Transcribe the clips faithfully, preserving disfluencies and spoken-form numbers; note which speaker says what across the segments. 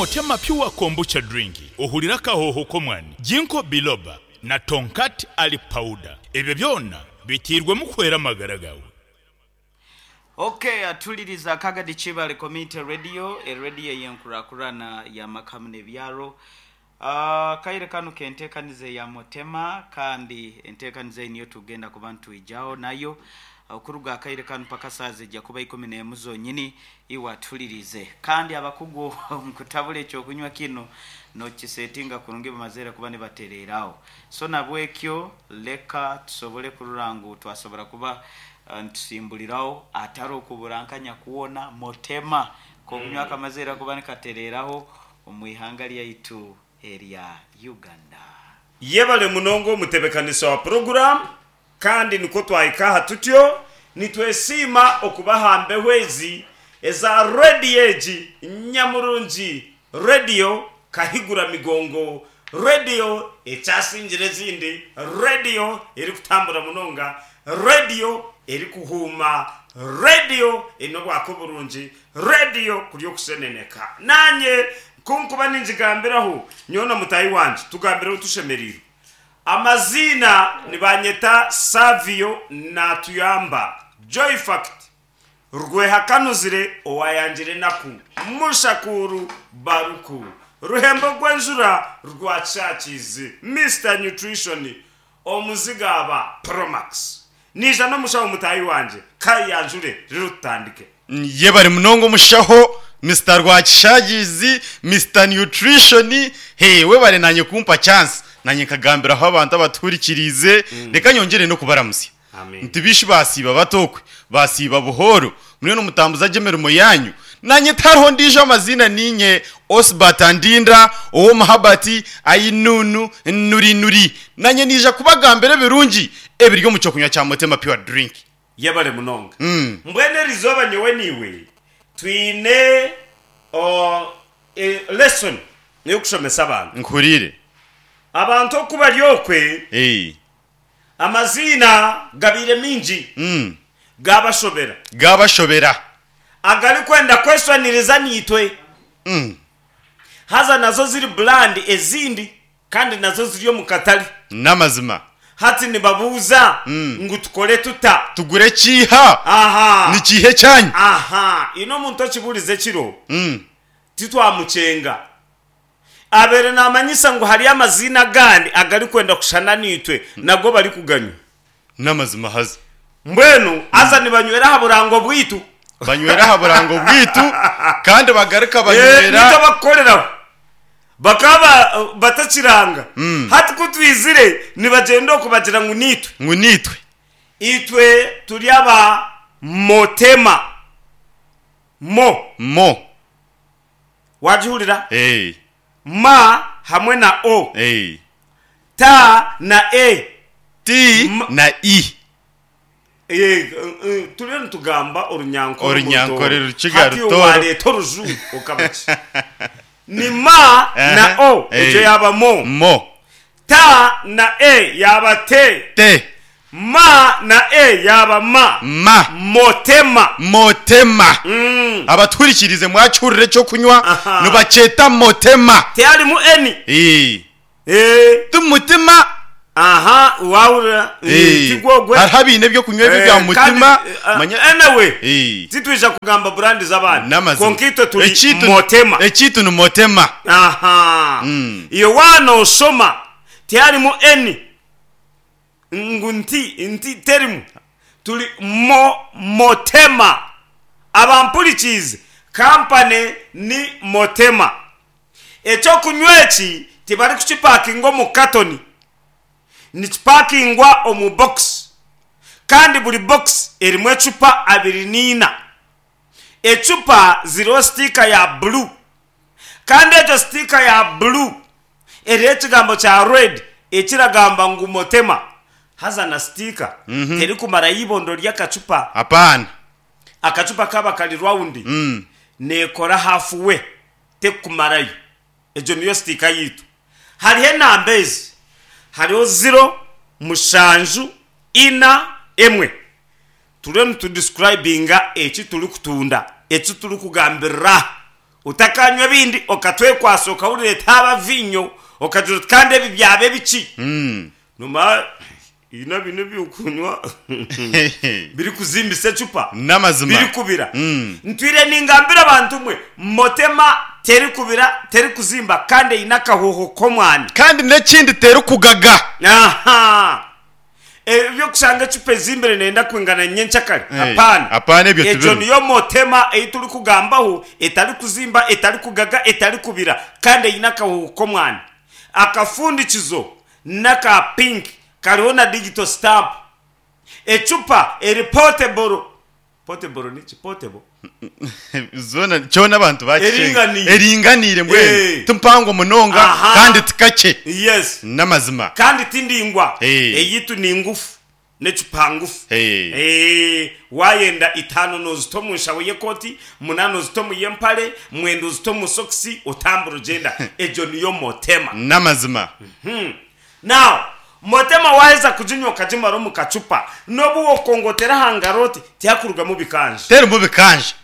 Speaker 1: Motema Pure Kombucha Drink ohurire akahooho k'omwani, Ginkgo Biloba na Tongkat Ali Powder. Ebyo byona biteirwemu kuhwera amagara gaawe.
Speaker 2: Ok atuliriza Kagadi Kibale Community Radio, erediyo ey'enkurakurana y'amaka hamwe n'ebyaro. Akaire kanu k'enteekaniza eya Motema kandi enteekaniza ei niyo tugenda kuba nitwijaho nayo okuruga akaire kanu paka saaha zijja kuba ikumi n'emu zonyini iwe atulirize. Kandi abakugu omu kutabura ekyokunywa kinu n'okisetinga kurungi bamazire kuba nibatereeraho. So nabwekyo leka tusobole kurora ngu twasobora kuba nitusimburiraho atari okuburankanya kwona Motema k'okunywa kamazire kuba nikatereeraho omu ihanga ryaitu erya Uganda.
Speaker 3: Yebare munonga omutebekanisa wa puroguramu kandi nikwo twahika aha tutyo nitwesiima okuba aha mbeho ezi eza rediyo egi nyamurungi, rediyo kahigura migongo, rediyo ekyasingire ezindi, rediyo erikutambura munonga, rediyo erikuhuuma, rediyo eine obwaka oburungi, rediyo kuri okusheneneka. Naanye ku nkuba ningigambiraho, nyowe na mutaahi wangye tugambiraho tushemereirwe. Amaziina nibanyeta Savio Natuyamba, Joyfact, Rwehakanuzire owayangire enaku, Mushakuuru Baruku, Ruhembo rw'enjura rwa Kishakiizi, Mister Nutrition, Omuzigaaba Promax. Naija n'omushaho mutaahi wangye, ka yanjure reero tutandike.
Speaker 4: Yebare munonga omushaho Mister Rwakishagizi, Mister Nutrition, hee webare nanye kumpa chance nanye nkagambiraho abantu abatuhurikiriize, reka nyongyere n'okubaramutsya.
Speaker 3: Amen.
Speaker 4: Nti bishi basiiba bata okwe, basiiba buhooro, muriyo nimutambuza gye emirimo yaanyu. Nanye tihariho ondiijo amaziina niinye Osbert Andinda ow'omuhabati Ainunu Nuri Nuri. Nanye niija kubagambira ebirungi ebiri omu ky'okunywa kya Motema Pure Drink.
Speaker 3: Yebare munonga. Mbwenu erizooba nyowe naiwe twine o, e, lesson ey'okushomesa abantu.
Speaker 4: Nkuhuriire.
Speaker 3: Abantu oku bari okwe,
Speaker 4: Ee.
Speaker 3: amaziina gabaire maingi,
Speaker 4: Mm.
Speaker 3: gaabashobera.
Speaker 4: Gaabashobera.
Speaker 3: Agarikwenda kweshwaniriza naitwe.
Speaker 4: Mm.
Speaker 3: Haza nazo ziri brand ezindi kandi nazo ziri omu katare.
Speaker 4: N'amazima.
Speaker 3: Hati nibabuuza ngu tukore tuta?
Speaker 4: Tugure kiiha?
Speaker 3: Aha.
Speaker 4: Ni kiiha ekyanyu?
Speaker 3: Aha. Haine omuntu okibuurize ekiro,
Speaker 4: Mm.
Speaker 3: titwamukyenga. Abaire naamanyisa ngu hariyo amaziina agandi agarikwenda kushushana naitwe nago barikuganywa.
Speaker 4: N'amazima haza.
Speaker 3: Mbwenu haza nibanywera aha burango bwaitu.
Speaker 4: Banywera aha burango bwaitu kandi bagaruka
Speaker 3: Eh,
Speaker 4: banywera.
Speaker 3: Nitwe abakukoreraho. Bakaba batakiranga. Hati ku twizire nibagyenda okwo bagira ngu niitwe.
Speaker 4: Ngu niitwe.
Speaker 3: Itwe turi aba Motema. Mo.
Speaker 4: Mo.
Speaker 3: Waagihurira?
Speaker 4: Eh.
Speaker 3: Ma hamwe na O.
Speaker 4: Eh.
Speaker 3: Ta na E.
Speaker 4: T
Speaker 3: Ma-
Speaker 4: na I.
Speaker 3: Eh, eh, turiyo nitugamba Orunyankore
Speaker 4: Orunyankore
Speaker 3: Orutooro.
Speaker 4: Rukiga
Speaker 3: Hati iwe
Speaker 4: Rutooro.
Speaker 3: waareeta Orujungu okaba ki? Ni ma na
Speaker 4: Aha,
Speaker 3: O, egyo
Speaker 4: eh.
Speaker 3: yaaba mo.
Speaker 4: Mo.
Speaker 3: Ta na E yaaba te.
Speaker 4: Te.
Speaker 3: Ma na E yaaba ma.
Speaker 4: Ma.
Speaker 3: Motema.
Speaker 4: Motema.
Speaker 3: Mm.
Speaker 4: Abatuhurikiriize mwakihurira ekyokunywa
Speaker 3: Aha.
Speaker 4: nibakyeta Motema.
Speaker 3: Tiharimu N.
Speaker 4: Eh.
Speaker 3: Eh.
Speaker 4: Ti mutima.
Speaker 3: Aha, waahurira?
Speaker 4: Eh.
Speaker 3: Tigwo ogwe.
Speaker 4: Hariho abaine ebyokunywa ebi
Speaker 3: Eh,
Speaker 4: bya
Speaker 3: kandi,
Speaker 4: mutima.
Speaker 3: eh,
Speaker 4: Manya.
Speaker 3: Anyway,
Speaker 4: Eh.
Speaker 3: titwija kugamba brand z'abandi.
Speaker 4: N'amazima.
Speaker 3: Kwonka itwe turi
Speaker 4: Ekiitu-
Speaker 3: Motema.
Speaker 4: Ekiitu ni Motema.
Speaker 3: Aha.
Speaker 4: Mm.
Speaker 3: Iwe waanoshoma tiharimu N ngu nti nti terimu. Turi mo Motema. Abampurikiize, kampani ni Motema. Eky'okunywa eki tibarikukipakinga omu katoni. Nikipakingwa omu bokisi. Kandi buri bokisi erimu ecupa abiri n'eina. Ecupa ziriho sitiika ya buru. Kandi egyo sitiika ya buru eriho ekigambo kya red ekiragamba ngu Motema. Haza na sitiika terikumarayo eibondo ry'akacupa.
Speaker 4: Apaana.
Speaker 3: Akacupa kaaba kari rawundi,
Speaker 4: Mm.
Speaker 3: neekora haafu we, terikumarayo. Egyo niyo sitiika yaitu. Hariho enamba ezi, hariho ziro, mushanju, ina, emwe. Turiyo nitudisikurayibinga eki turikutunda, eki turikugambirira Utakanywa ebindi okatwekwasa okahurira etaaba vinyo okagira oti kandi ebi byaba ebiki.
Speaker 4: Mm.
Speaker 3: Noma ina bino ebyokunywa biri kuzimbisa ecupa
Speaker 4: N'amazima.
Speaker 3: biri kubira.
Speaker 4: Mm.
Speaker 3: Ntwire ningambira abantu mwe motema teri kubira teri kuzimba kandi eine akahoho k'omwani.
Speaker 4: Kandi n'ekindi teri kugaga.
Speaker 3: Aha. Ebyokushanga ecupa ezimbire nenda kwingana nyenkyakare.
Speaker 4: Hey,
Speaker 3: Hapana.
Speaker 4: hapana ebyo
Speaker 3: Ekyo
Speaker 4: tibirimu.
Speaker 3: niyo motema ei turi kugambaho etari kuzimba etari kugaga etari kubira kandi eine akahoho k'omwani. Akafundikizo n'aka pink kariho na digital stamp. Ecupa eri portable. Portable niki? Portable.
Speaker 4: Zona kyona abantu bakishenga.
Speaker 3: Eringaniire.
Speaker 4: Eringaniire mbwenu.
Speaker 3: Eh.
Speaker 4: Timpango munonga
Speaker 3: Aha.
Speaker 4: kandi tikakye.
Speaker 3: Yes.
Speaker 4: N'amazima.
Speaker 3: Kandi tindingwa.
Speaker 4: Eh.
Speaker 3: Eyitu ni ngufu n'ecupa ngufu.
Speaker 4: Eh.
Speaker 3: Eh, wayenda itano nozita omu nshaho y'ekoti, munana ozita omu y'empare, mwenda ozita omu sokisi, otambura ogyenda. Egyo niyo motema.
Speaker 4: N'amazima.
Speaker 3: Hmm. Now, motema waheza kuginywa okagimara omu kacupa, n'obu wokongotera aha ngaro oti tihakurugamu bikanja.
Speaker 4: Terimu bikanja.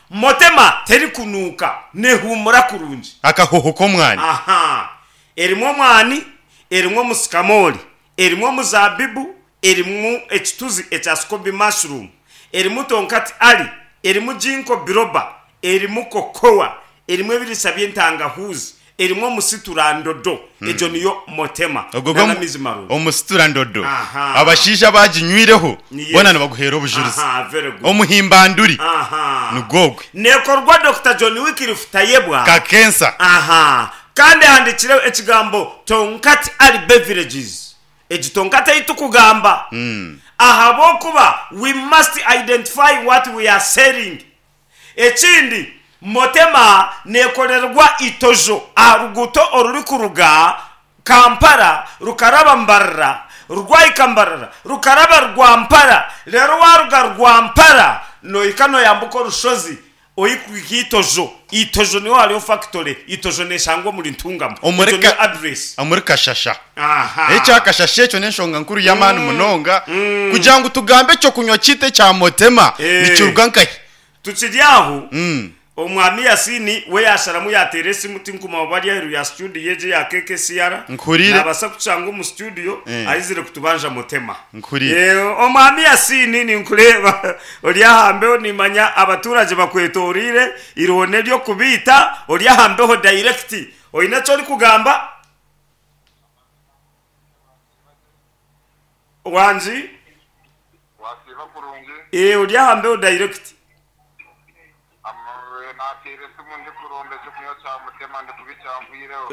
Speaker 3: Motema terikunuuka, nehuumura kurungi.
Speaker 4: Akahoho k'omwani.
Speaker 3: Aha. Erimu omwani, erimu omusikamori, erimu omuzabibu, erimu ekituzi ekya scoby mushroom, erimu tonkati ali, erimu ginkgo biloba, erimu kokoa, erimu ebirisa by'entangahuzi, erimu omusiturandodo. Egyo niyo motema.
Speaker 4: Ogwo
Speaker 3: Nana
Speaker 4: gwo-
Speaker 3: mizi marungi.
Speaker 4: omusiturandodo.
Speaker 3: Aha.
Speaker 4: Abashaija baginywireho
Speaker 3: Yes.
Speaker 4: bona nibaguheera obujulizi.
Speaker 3: Aha, very good.
Speaker 4: Omuhimbanduri
Speaker 3: Aha.
Speaker 4: nigwogwe.
Speaker 3: Nekorwa Doctor John Wycliffe Tayebwa.
Speaker 4: Kakensa.
Speaker 3: Aha. Kandi handikire ekigambo Tonkati Ali Beverages. Egi Tonkati ei tukugamba.
Speaker 4: Mm.
Speaker 3: Ahabw'okuba we must identify what we are selling. Ekindi motema nekorerwa itojo aha ruguuto orurikuruga Kampala rukaraba Mbarara rwahika Mbarara rukaraba Rwampara rero waruga Rwampara nohika noyambuka orushozi oyikuhika itojo. Itojo niho hariho factory. Itojo neshangwa omuri Ntungamo.
Speaker 4: Omuri
Speaker 3: Egyo niyo
Speaker 4: ka-
Speaker 3: address.
Speaker 4: Omuri Kashasha.
Speaker 3: Aha.
Speaker 4: Ekyakashasha ekyo n'enshonga nkuru y'amaani munonga kugira ngu tugambe ekyokunywa kiitu ekya motema
Speaker 3: Eh.
Speaker 4: nikiruga nkahi.
Speaker 3: Tukiri aho
Speaker 4: Mm.
Speaker 3: omwami Yasini we yasharamu yateera esimu tinkuma bari aheeru ya studio egi ya K K C R.
Speaker 4: Nkurire.
Speaker 3: Nabasa kutushanga omu studio
Speaker 4: Eh.
Speaker 3: aizire kutubanja motema.
Speaker 4: Nkurire.
Speaker 3: Eh, omwami Yasini ninkureeba ori ahambeho nimanya abaturage bakwetorire irihone ry'okubiita ori ahambeho direct. Oine eki orikugamba? Wangi?
Speaker 5: Wasiiba kurungi.
Speaker 3: Eh, ori ahambeho direct.
Speaker 5: Nateera esimu ndikuronda ekyokunywa kya mutema ndikuba ekyangwireho.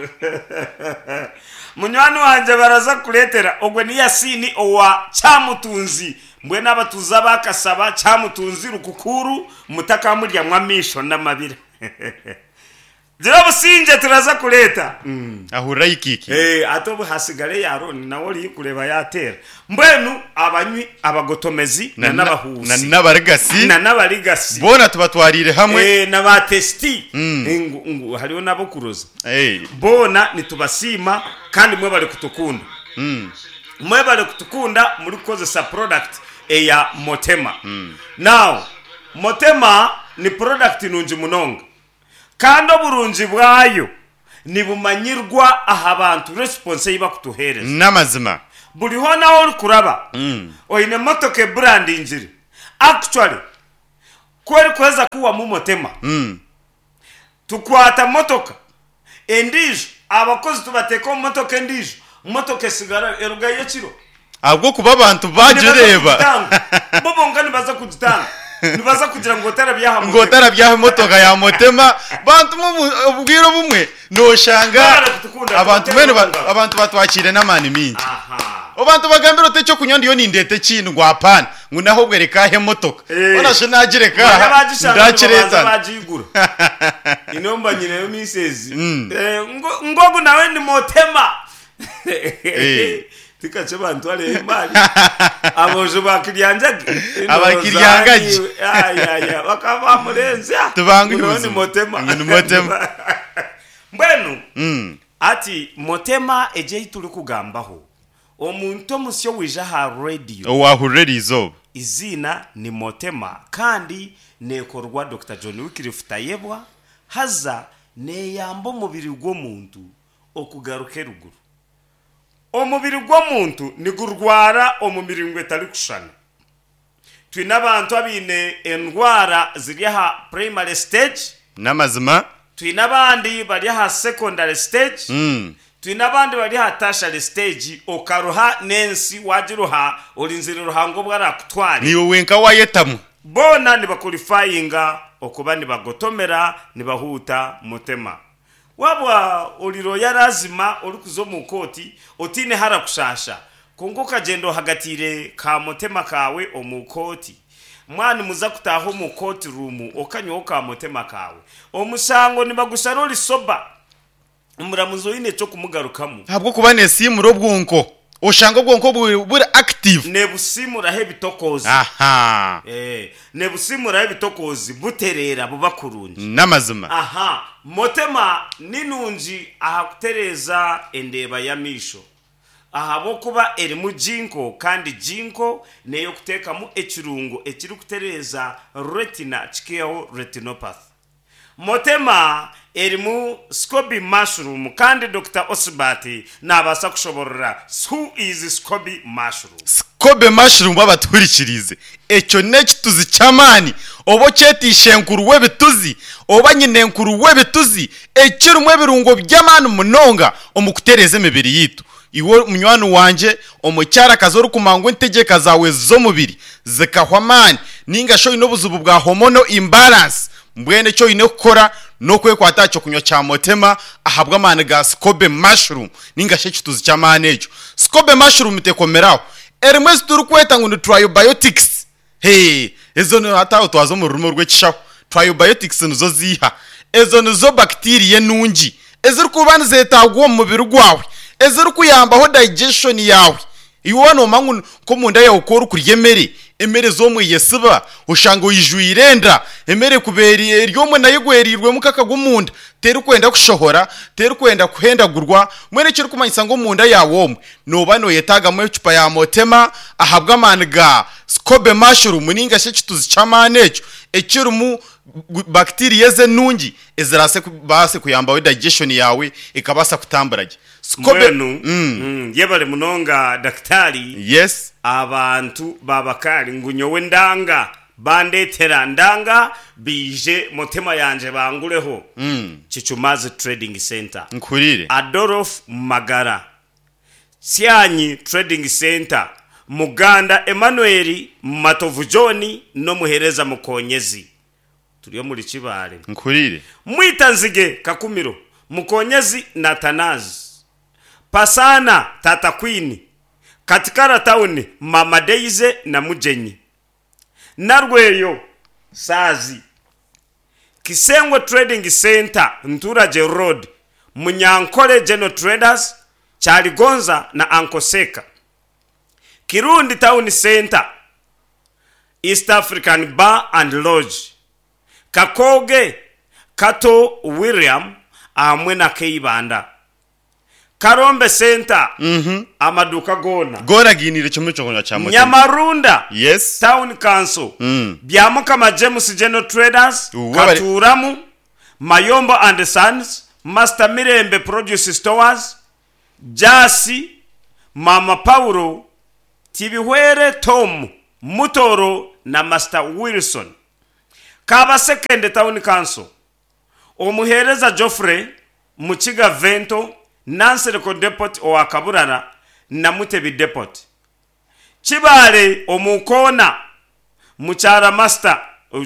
Speaker 3: Munywani wangye baraza kukureetera ogwe ni Yasini owa Kyamutunzi. Mbwenu abatuuzi abakasaba Kyamutunzi Rukukuru mutakamuryamu amaisho n'amabira. Gira obusingye turaza kureeta.
Speaker 4: Ahurira ikiiki.
Speaker 3: Eh, ate obu hasigare ya Aroni nawe ori kureeba yateera. Mbwenu abanywi abagotomezi na n'abahuusi.
Speaker 4: Na n'abarigasi.
Speaker 3: Na n'abarigasi.
Speaker 4: Boona tubatwarire hamwe.
Speaker 3: Eh, na ba testi.
Speaker 4: Mm.
Speaker 3: Ngu, ngu, hariho n'abokuroza.
Speaker 4: Eh.
Speaker 3: Boona nitubasiima kandi mwe bari kutukunda.
Speaker 4: Mm.
Speaker 3: Mwe bari kutukunda muri kukozesa product eya motema.
Speaker 4: Mm.
Speaker 3: Now, motema ni product nungi munonga. Kandi oburungi bwayo nibumanyirwa aha bantu response ei bakutuheereza.
Speaker 4: N'amazima.
Speaker 3: Buri hoona ahu orikuraba
Speaker 4: Mm.
Speaker 3: oine motoka ebrandingire. Actually, ku erikuheza kuwamu motema,
Speaker 4: Mm.
Speaker 3: tukwata motoka endiijo, abakozi tubateeka omu motoka endiijo, motoka esigara erugayo ekiro.
Speaker 4: Ahabw'okuba abantu bagireeba.
Speaker 3: Nibaza kugitanga. Bo bonka nibaza kugitanga. Nibaza kugira ngu otarabyaha
Speaker 4: Ngu
Speaker 3: motema.
Speaker 4: otarabyaha emotoka ya motema. Bantu mu obwire obumwe noshanga
Speaker 3: Barara kutukunda,
Speaker 4: abantu mbwenu ba-
Speaker 3: kutukunda.
Speaker 4: abantu batwakire n'amaani mingi.
Speaker 3: Aha.
Speaker 4: Abantu bagambira oti ekyokunywa ndiyo nindeeta ekindi ngu hapana ngu naho obwe reka ahe emotoka.
Speaker 3: Eh.
Speaker 4: Ona shi nagireka
Speaker 3: Banya
Speaker 4: aha,
Speaker 3: bagishanga nibabanza
Speaker 4: ndakireetana.
Speaker 3: bagigura. Inomba nyineyo misezi.
Speaker 4: Mm.
Speaker 3: Eh, ngo- ngogu nawe ni motema.
Speaker 4: Eh.
Speaker 3: Tikache bantu ale imali. Abojo bakiryanjage.
Speaker 4: Abakiryangaje.
Speaker 3: Ay ay ay bakaba murenzi.
Speaker 4: Tubangu
Speaker 3: Ngo ni
Speaker 4: ubuzima.
Speaker 3: motema.
Speaker 4: Ngo ni motema.
Speaker 3: Mbwenu
Speaker 4: Mm.
Speaker 3: ati motema eje turi kugambaho. Omuntu omusyo wija ha radio.
Speaker 4: Owahurira eriizooba.
Speaker 3: Izina ni motema kandi nekorwa Doctor John Wycliffe Tayebwa Haza neeyamba omubiri gw'omuntu okugaruka eruguru. Omubiri gw'omuntu nigurwara omu miringo etarikushushana. Twine abantu abaine endwara ziri aha primary stage,
Speaker 4: N'amazima.
Speaker 3: twine abandi bari aha secondary stage,
Speaker 4: Mm.
Speaker 3: twine abandi bari aha tertiary stage. Okaruha n'ensi wagiruha, orinzire Ruhanga obu arakutware.
Speaker 4: Niiwe wenka wayetamwa.
Speaker 3: Boona nibaqualifyinga okuba nibagotomera nibahuuta Mutema. Waba oriro yarazima orikuza omu kooti otiine harakushasha, kwonka okagenda ohagatiire ka Mutema kawe omu kooti, mwana muza kutaaha omu kooti room okanywaho ka Mutema kawe, omushango nibagushara ori sober, omuramuzi oine ekyokumugarukamu.
Speaker 4: Ahabw'okuba neesiimura obwonko, oshanga obwonko buri buri active.
Speaker 3: Nebusimuraho ebitokoozi.
Speaker 4: Aha.
Speaker 3: Eh, nebusimuraho ebitokoozi, butereera buba kurungi.
Speaker 4: N'amazima.
Speaker 3: Aha, Motema ni nungi aha kutereeza endeeba y'amaisho ahabw'okuba erimu ginkgo, kandi ginkgo n'ey'okuteekamu ekirungo ekirikutereeza retina kikihaho retinopathy. Motema erimu SCOBY mushroom, kandi Doctor Osbert nabaasa kushoborora who is SCOBY mushroom.
Speaker 4: SCOBY mushroom, abatuhurikirize, ekyo n'ekituzi ky'amaani, oba okyetiisha enkuru w'ebituzi oba nyine enkuru w'ebituzi, ekirimu ebirungo by'amaani munonga omu kutereeza emibiri yitu. Iwe munywani wangye omukyarakazi orikumangwa entegeka zawe z'omubiri zikahwa amaani, ninga shi oine obuzibu bwa hormonal imbalance, mbwenu ekyo oine kukora n'okwekwata aha kyokunywa kya Motema ahabw'amaani ga SCOBY mushroom ninga shi ekituzi ky'amaani ekyo. SCOBY mushroom tekomeraho, erimu ezi turikweta ngu ni tribiotics. He, ezo ni hataho twaza omu rurimi rw'ekishaho, tribiotics nizo ziiha? Ezo nizo bacteria enungi ezirikuba nizeetagwa omu mubiri gwawe, ezirikuyambaho digestion yawe. Iwe noomanya ngu nk'omunda yawe ku orikurya emere, emere z'omwe yesiba oshanga oyijwire enda, emere kuba eri eri omwe nayo egwerirwemu kakagwa omunda, terikwenda kushohora, terikwenda kuhendagurwa. Mbwenu ekirikumanyisa ngu omunda yawe omwe nooba nooyetaagamu ecupa ya Motema ahabw'amaani ga SCOBY mushroom ninga shi ekituzi ky'amaani ekyo ekirimu bacteria ezi enungi eziraase kubaase kuyambaho digestion yawe ekabaasa kutambura gye. SCOBY.
Speaker 3: Mbwenu
Speaker 4: mm.
Speaker 3: mm, yebale munonga dakitari.
Speaker 4: Yes.
Speaker 3: Abantu babakari ngu nyowe ndanga bandetera ndanga biije Motema yanje bangureho.
Speaker 4: mm.
Speaker 3: Kichumazi Trading Center,
Speaker 4: Nkurire.
Speaker 3: Adolf Magara, Tsyanyi Trading Center, Muganda Emmanuel, Matovu John n'omuhereza Mukonyezi, turi omuri Kibaale.
Speaker 4: Nkurire.
Speaker 3: Mwita Nzige Kakumiro, Mukonyezi na Tanazi Pasana, Tata Queen, Katikara Town, Mama Deize na Mugenyi Narweyo Saazi, Kisengwe Trading Center, Nturage Road, Munyankole General Traders, Kyaligonza na Ankoseka, Kirundi Town Center, East African Bar and Lodge, Kakoge Kato William hamwe na Keibanda, Karombe Center,
Speaker 4: Mhm.
Speaker 3: amaduka goona.
Speaker 4: Goona giinire kimwe ekyokunywa kya Motema.
Speaker 3: Nyamarunda
Speaker 4: Yes.
Speaker 3: Town Council,
Speaker 4: Mm.
Speaker 3: Byamukama James General Traders,
Speaker 4: Uwe bari-
Speaker 3: Katuramu Mayombo and Sons, Master Mirembe Produce Stores, Jasi Mama Paulo Tibihwere, Tom Mutoro na Master Wilson, Kabasekende Town Council, omuheereza Geoffrey Mukiga Vento, Nansereko Depot owa Kaburara na Mutebi Depot, Kibaale omukoona Mukyara Master,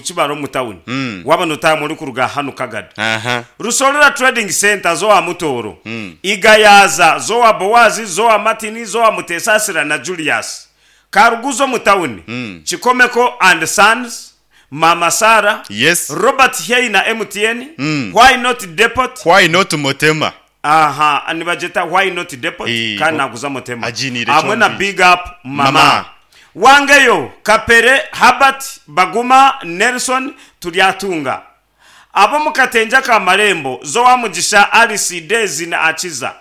Speaker 3: Kibaale omu town,
Speaker 4: Mm.
Speaker 3: waba notaamu orikuruga hanu Kagadi,
Speaker 4: Aha.
Speaker 3: Rusorera Trading Center, zowa Mutoro,
Speaker 4: Mm.
Speaker 3: Igayaza, zowa Bowazi, zowa Martini, zowa Mutesasira na Julius Karuguzo mu town,
Speaker 4: Mm.
Speaker 3: Kikomeko and Sons, Mama Sara,
Speaker 4: Yes.
Speaker 3: Robert Hei na M T N,
Speaker 4: Mm.
Speaker 3: Why Not Depot.
Speaker 4: Why Not Motema.
Speaker 3: Aha, nibageta Why Not Depot.
Speaker 4: Eh,
Speaker 3: kandi naguza Motema
Speaker 4: aginire
Speaker 3: hamwe na
Speaker 4: kyombi.
Speaker 3: Big Up Mama,
Speaker 4: Mama.
Speaker 3: Wangeyo Kapere Habert Baguma Nelson Turyatunga, abo mu Katenja ka Marembo, zowa Mugisha Alice Dezi na Akiza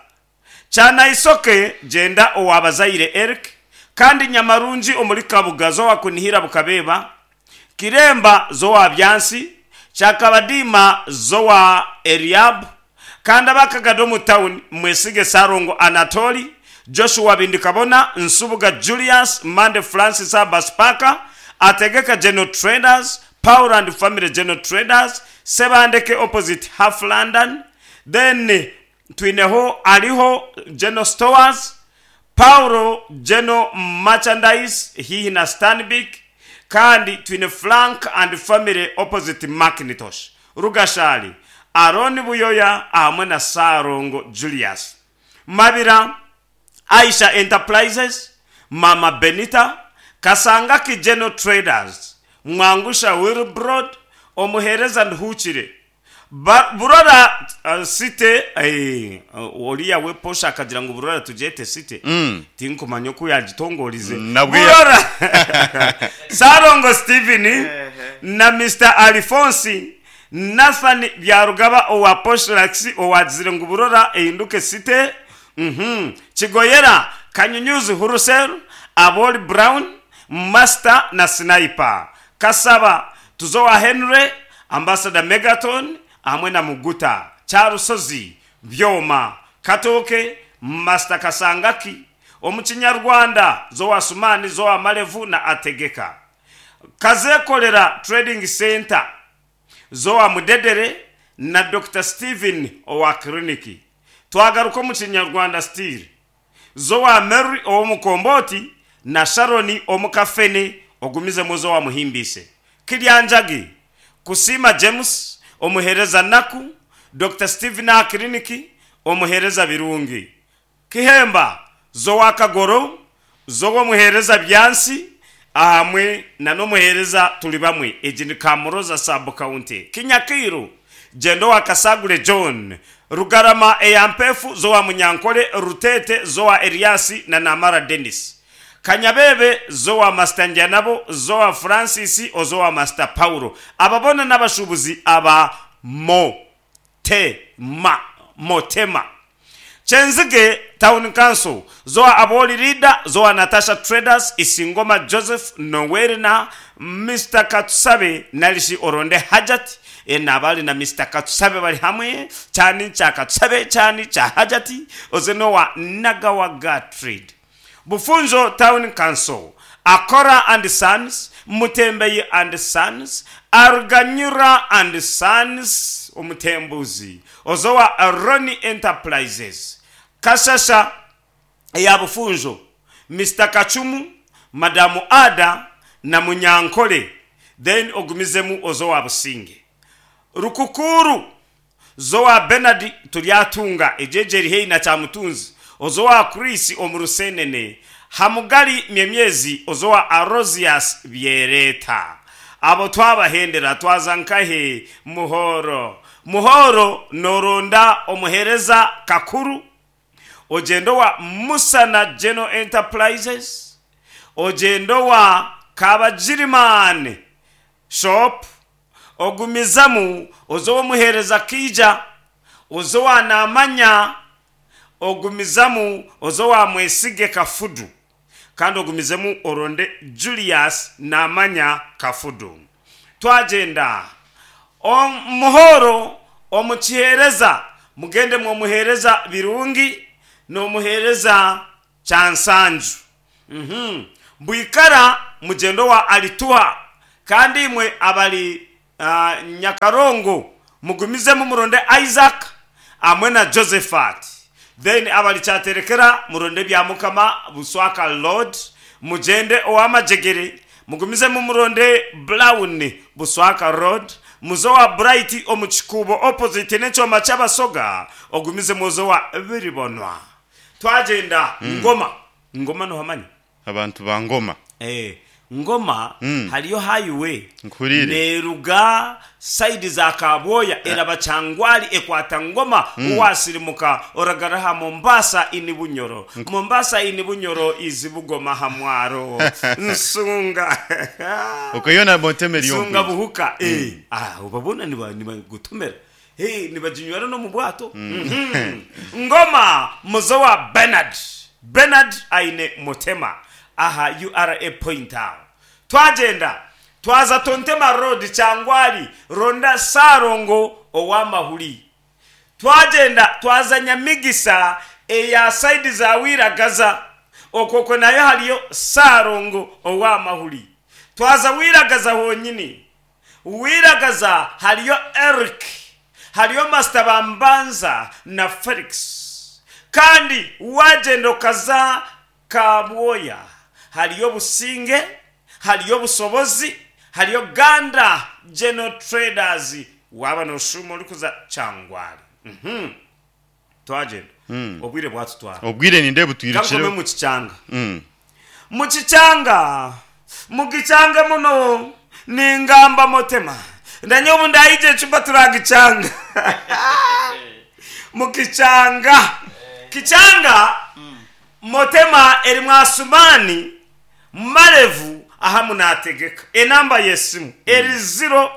Speaker 3: Cyanaisoke, genda owabazaire Eric, kandi Nyamarungi omuri Kabuga, zowa Kunihira Bukabeba, Kiremba, zowa Byansi. Kyakabadiima Zowa Eliab, kandi abakagada omu town Mwesige Sarongo Anatoli, Joshua Bindikabona, Nsubuga Julius, Mande Francis Abbas Parker, Ategeka General Traders, Paul and Family General Traders, Sebandeke opposite Half London, then twineho Ariho General Stores, Paulo General Merchandise hihi na Stanbic, kandi twine Frank and Family opposite Macintosh, Rugashali, Aaron Buyoya hamwe na Sarongo Julius, Mabira, Aisha Enterprises, Mama Benita, Kasangaki General Traders, Mwangusha Wilbrod, Omuhereza Nduhukire, Ba- Burora uh, City, eh, uh, oriya we posha akagira ngu Burora tugyete City.
Speaker 4: Mm.
Speaker 3: Tinkumanya oku yagitongorize.
Speaker 4: Nabwo ya-
Speaker 3: Burora Sarongo Steven na Mister Alphonse Nathan Byarugaba owa Poshlax owagizire ngu Burora ehinduke City. Mhm. Kigoyera Kanyunyuzi Hurusel, Aboli Brown, Master na Sniper, Kasaba Tuzowa Henry, Ambassador Megaton hamwe na Muguta, Kyarusozi Byoma, Katoke Master Kasangaki, omukinyarwanda Zowa Sumani, Zowa Malevu na Ategeka, Kazekolera Trading Center, Zowa Mudedere na Doctor Steven owa Kliniki. Twagaruka omu kinyarwanda still, Zowa Mary ow'omukomboti na Sharoni omukafene, ogumizemu Zowa Muhimbise, Kiryanjagi Kusima James omuhereza Naku, Doctor Steven aha Kliniki omuhereza Birungi, Kihemba Zowa Kagoro, Zowa omuhereza Byansi ahamwe na n'omuhereza tuli bamwe. Egi ni Kamuroza sub county. Kinyakiru Jendo wa Kasagure John, Rugarama eyampefu Zowa Munyankole, Rutete Zowa Eliasi na Namara Dennis, Kanyabebe Zowa Master Njanabo, Zowa Francis Ozowa Master Paulo. Ababona n'abashubuzi aba Motema, Motema. Chenzige Town Council, Zoa Aboli Leader, Zoa Natasha Traders, Isingoma Joseph Noweri na Mister Katsusabe Nalishi Oronde Hajat. E nabali na Mister Katsusabe bali hamwe, chani cha Katsusabe, chani cha Hajati, ozenowa Nagawa Trade. Bufunzo Town Council, Akora and Sons, Mutembei and Sons, Arganyura and Sons, Omutembuzi, Ozowa Roni Enterprises, Kasasa ya Bufunzo, Mister Kachumu, Madamu Ada na Munyankole, then ogumizemu Ozowa Businge. Rukukuru Zowa Bernard Tulyatunga, ejejeri hei na Chamutunzi, Ozowa Chris Omurusenene, Hamugali Myemyezi, Ozowa Arosias Biereta. Abo twabahendera twaza nkahe Muhoro. Muhoro noronda omuhereza Kakuru, ojendo wa Musana General Enterprises, ojendo wa Kabajirimane Shop, ogumizamu ozowa muhereza Kija, ozowa Namanya, ogumizamu ozowa Mwesige Kafudu, kandi ogumizemu oronde Julius Namanya Kafudu. Twagenda omuhoro omukihereza, mugende mwomuhereza Birungi n'omuhereza Kyansanju. Mhm. Bwikara mugendo wa Alituha, kandi imwe abali, uh, Nyakarongo mugumizemu muronde Isaac amwe na Josephat. Then abali Kyaterekera muronde bya Mukama Buswaka Lord, mugende owamajegere mugumizemu muronde Brown Buswaka Road, muzowa Bright omukikubo opposite n'ekyoma ky'abasoga, ogumize muzowa Biribonwa. Twagenda mm. Ngoma. Ngoma no hamanyi
Speaker 4: abantu ba Ngoma.
Speaker 3: Eh, Ngoma
Speaker 4: Mm.
Speaker 3: haliyo highway
Speaker 4: Nkurire.
Speaker 3: neruga side za Kaboya eraba Changwali ekwata Ngoma mm. Uwasirimuka oragaraha Mombasa ini Bunyoro. Mombasa ini Bunyoro izibugoma hamwaro. Nsunga.
Speaker 4: Ukayona Monteme
Speaker 3: Nsunga
Speaker 4: Lyombi.
Speaker 3: buhuka. Eh, ah ubabona ni ba ni gutumera. Hey, ni bajinywera no mu bwato. Mm -hmm. Ngoma muzowa Bernard. Bernard aine Motema. Aha U R A pointer. Twagenda Twaza Tontema Road, Kyangwali, ronda Sarongo ow'amahuri. Twagenda twaza Nyamigisa eya saidi za Wiragaza, okwo nayo hariyo Sarongo ow'amahuri. Twaza Wiragaza honyini, Wiragaza hariyo Eric, hariyo Master Bambanza na Felix. Kandi wagenda okaza Kabwoya, hariyo Businge, hariyo Busobozi, hariyo Ganda General Traders. Waba noshuma orikuza Kyangwali. Mhm. Twagenda, obwire bwatutwara.
Speaker 4: Obwire ninde
Speaker 3: Kankome
Speaker 4: butwirukire.
Speaker 3: mu kicyanga.
Speaker 4: Mm.
Speaker 3: Mu kicyanga, mu gicyanga muno ningamba motema ndanye ubu ndayije ecupa turagicanga mu kicyanga. Kicyanga motema eri mwasumani marevu aha munategeka. Enamba yesimu eri zero.